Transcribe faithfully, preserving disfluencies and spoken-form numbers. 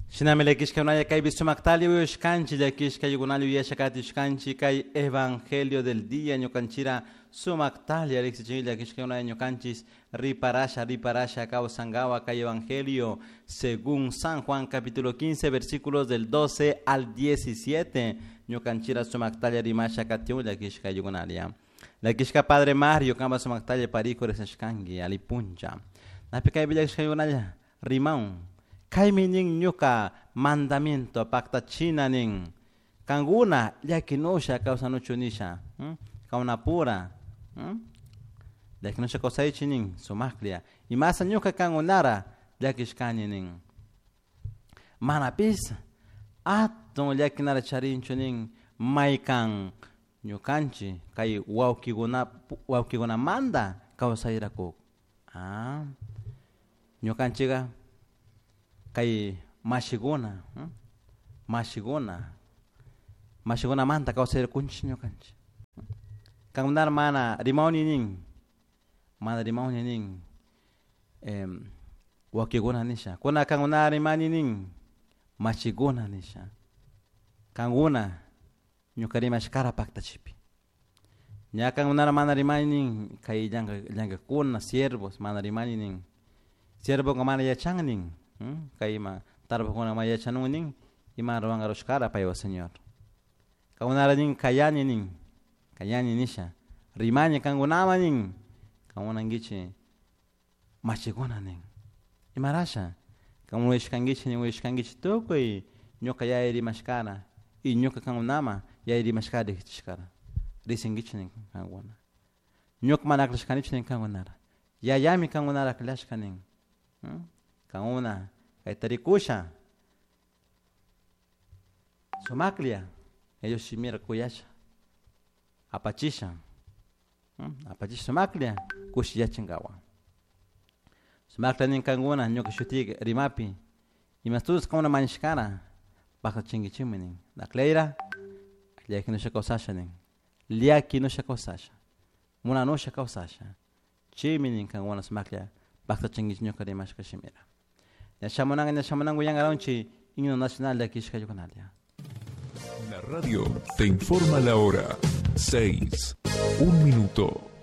Shinami llakishka kaypi sumaktalla uyashkanchik llakishka ayukunalla uyasha katishkanchik kay evangelio del día ñukanchira sumaktalla riqsichin llakishka ñukanchis riparasha riparasha kawsankawa kay evangelio según San Juan capítulo quince versículos del doce al diecisiete ñukanchira sumaktalla rimasha katiun llakishka ayukunalla llakishka Padre Mario kamba sumaktalla parico riqsishkanki alipuncha napi kaypi llakishka ayukunalla rimaun kaymi nin ñuka mandamiento paktachina nin kankuna llakinusha kawsanuchu nisha kawnapura llakinusha kawsaychi nin sumaklla imasa ñuka kankunara llakishkani nin manapis atun llakinara charinchu nin maykan ñukanchik kay wawkikuna wawkikunamanta kawsayrakuk ah ñukanchikka kay mashikuna mashikuna mashikunamanta kawsayrakunchik ñukanchik kankunara mana rimawni nin mana rimawni nin eh, wawkikuna nisha kuna kankunara rimani nin mashikuna nisha kankuna ñuka rimashkara paktachipi ña kankunara mana rimani nin kay llankakuna siervos mana rimani nin siervoka mana yachan nin kay ima tarpukuna mana yachanun nin ima ruwanka rushkara paywa Señor kankunara nin kayani nin kayani nisha rimani kankunama nin kankunankichik mashikuna nin imarasha kankuna uyashkankichik nin uyashkankichik tukuy ñuka yaya rimashkara y ñuka kankunama yaya rimashkara riqsichishkara riqsinkichik nin kankuna ñuka mana aklashkanichu nin kankunara yayami kankunara aklashka nin kankuna kayta rikusha sumaklla ellos shimira kuyasha apachisha apachisha sumaklla kushiyachinkawa sumaklla nin kankuna ñuka shutika rimapi imastus kankuna mañashkara paktachinkichikmi nin aklayra llakinusha kawsasha nin llakinusha kawsasha munanusha kawsasha chaymi nin kankuna sumaklla paktachinkichik ñuka rimashka shimira ña shamunanka ña shamunanka uyankaranchik himno nacional llakishka ayukunalla. La radio te informa la hora. Seis. Un minuto.